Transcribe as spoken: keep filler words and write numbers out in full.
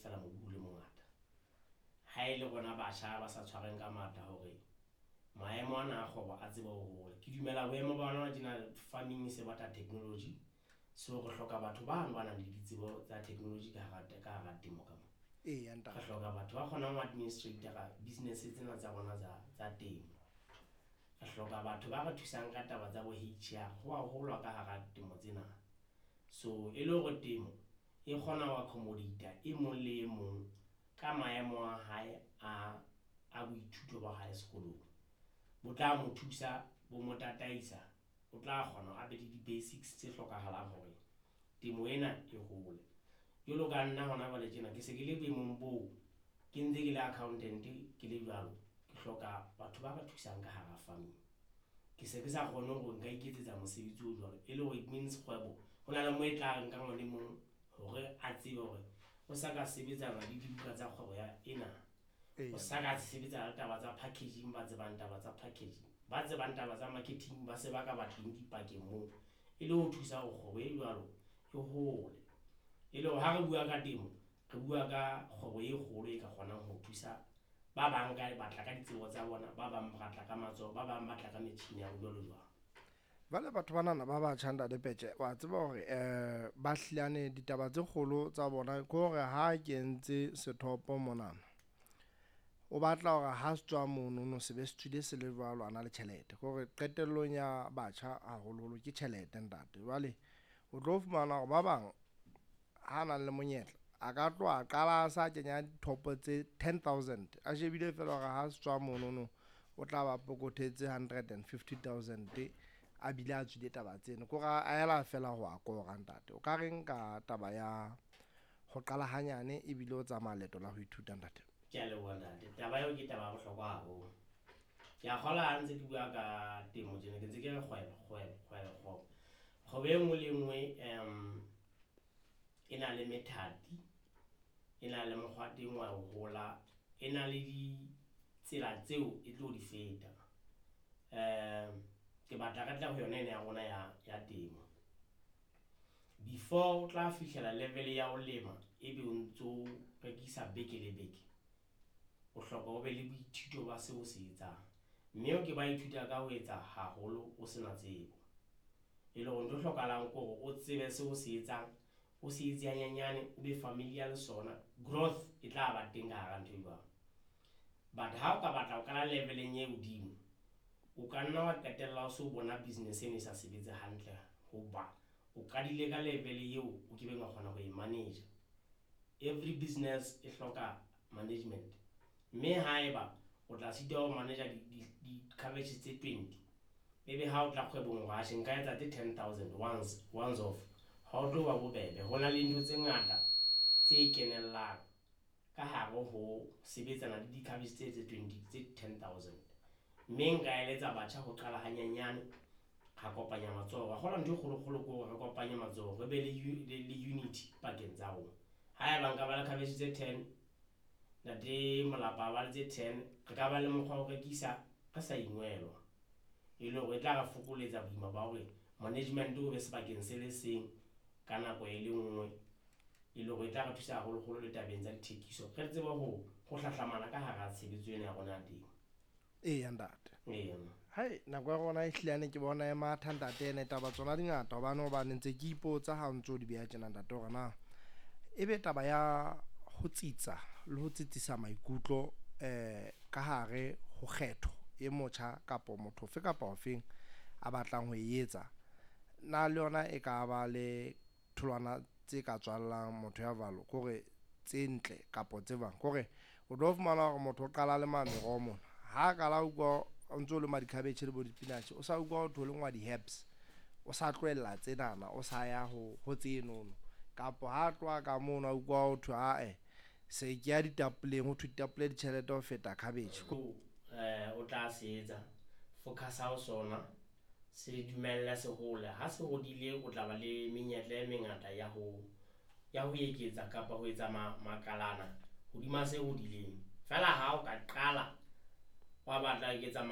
feela mobu o le mongata. Ha e le rona batjha ba sa tshwareng ka matla hore maemo ana a kgwebo a tsebe ho hola. Ke dumela boemo ba hona tjena farming e se batla technology, so re hloka batho bano ba nang le ditsebo tsa technology ka hara ka hara temo ka mo. Eya Re ntate. hloka batho ba kgonang ho administrate-ra business tsena tsa rona tsa tsa temo. Re hloka batho ba re thusang ka taba tsa bo H R, ho a holwa ka hara temo tsena. So e le hore temo e kgona ho accommodate e mong le e mong ka maemo a hae a a boithuto ba hae sekolong. Bo tla mo thusa, bo mo tataisa, o tla kgona hore a be le di-basics tse hlokahalang hore temo ena e hole. Jwalo ka nna hona jwale tjena ke se ke le boemong boo, ke ntse ke le accountant ke le jwalo, ke hloka batho ba re thusang ka hara farming. Ke se ke sa kgone hore nka iketsetsa mosebetsi o jwalo, e le hore it means kgwebo ho na le moo e tla re nkang le mong hore a tsebe hore o sa ka sebetsana le dibuka tsa kgwebo ya ena. O Eya. sa ka sebetsana le taba tsa packaging, ba tsebang taba tsa packaging, ba tsebang taba tsa marketing, ba se ba ka ba teng dipakeng moo, e le ho thusa hore kgwebo e jwalo e hole. E le hore ha re bua ka temo, re bua ka kgwebo e kgolo e ka kgonang ho thusa ba bang ka batla ka ditsebo tsa bona, ba bang ba tla ka matsoho, ba bang ba tla ka metjhini ya jwalo jwalo. Jwale batho banana ba batjha, ntate Peche, wa tseba hore um ba hlilane ditaba tse kgolo tsa bona ke hore ha kentse sethopo monana, o batla hore ha se tswa monono se be se tswile se le jwalo, a na le tjhelete. Ke hore qetellong ya batjha haholoholo ke tjhelete, ntate. Jwale o tlo fumana hore ba bang ha nang le monyetla a ka tloha a qala a sa kenya dithopo tse ten thousand, a shebile feela hore ha se tswa monono o tla ba pokothetse hundred and fifty thousand, a bile a tswile taba tseno, ke hore a ela fela ho a kora. Ntate, o ka reng ka taba ya ho qala hanyane ebile o tsamaya leeto la ho ithuta, ntate? Ke a leboha, ntate. Taba eo ke taba ya bohlokwa haholo. Ke a kgolwa ha ntse ke bua ka temo tjena, ke ntse ke re kgwebo, kgwebo, kgwebo, kgwebo. Kgwebo e nngwe le e nngwe um e na le methati, e na le mokgwa teng wa ho hola, e na le ditsela tseo e tlo di feta. Um ke batla re tle ho yona ena ya rona ya ya temo. Before o tla fihlela level ya ho lema, ebe o ntso rekisa beke le beke, o hloka o be le boithuto ba seo o se etsang, mme o ke ba ithuta ka ho etsa haholo o sena tsebo. E le hore ntho e hlokahalang ke hore o tsebe seo o se etsang, o se etse hanyenyane, o be familiar le sona, growth e tla ba teng ka hara ntho e jwalo. But ha o ka batla ho qala level-eng e hodimo, o ka nna wa qetella o so bona business eno e sa sebetse hantle, hoba o qadile ka level eo o kebeng wa kgona ho e manage. Every business e hloka management, mme haeba o tla sitwa ho manage di-cabbage tse twenty, ebe ha o tla kgwebong hore atjhe, nka etsa tse ten thousand once once off, ha o tlo ba bobebe. Ho na le ntho tse ngata tse kenellang ka hare ho sebetsana le di-cabbage tse tse twenty, tse ten thousand. Mme nka eletsa batjha ho qala hanyenyane, ra kopanya matsoho. Wa kgolwa ntho e kgolo-kgolo ke hore re kopanye matsoho, re be le le unity pakeng tsa rona. Haeba nka ba le cabbage tse ten, ntate Molapa a ba le tse ten, re ka ba le mokgwa wa ho rekisa re sa ingwelwa, e le hore e tla re fokoletsa boima ba hore management o be sebakeng se le seng ka nako e le nngwe, e le hore e tla re thusa haholoholo le tabeng tsa dithekiso, re tsebe ho ho hlahlamana ka hara tshebetso ena ya rona ya temo. Eya, ntate. Eya. Hai, nako ya rona e hlilane ke bona e matha, ntate. Ene taba tsona di ngata, hobane hobane ntse ke ipotsa ha o ntso di beha tjena, ntate, hore na ebe taba ya ho tsitsa le ho tsitsisa maikutlo eh ka hare ho kgetho e motjha kapo motho ofe kapa ofeng a batlang ho e etsa, na le yona e ka ba le tholwana tse ka tswallang motho ya jwalo, ke hore tse ntle kapo tse jwang? Ke hore o tlo fumana hore motho o qala lema meroho mona, ha qala utlwa o ntso lema di-cabbage le bo di-spinach, o sa utlwa ho thwe ho lengwa di-herbs, o sa tlohella tsenana, o sa ya ho ho tsenono, kapo ha tloha ka mono a utlwa ho thwe ae, se ke ya ditapoleng, ho thwe ditapole ditjhelete ho feta cabbage. eh o tla se etsa, focus-a ho sona, se dumelle se hole. Ha se hodile, o tla ba le menyetla e mengata ya ho ya ho eketsa kapa ho etsa makalana hodima se hodileng. Feela ha o ka qala wa batla eketsa.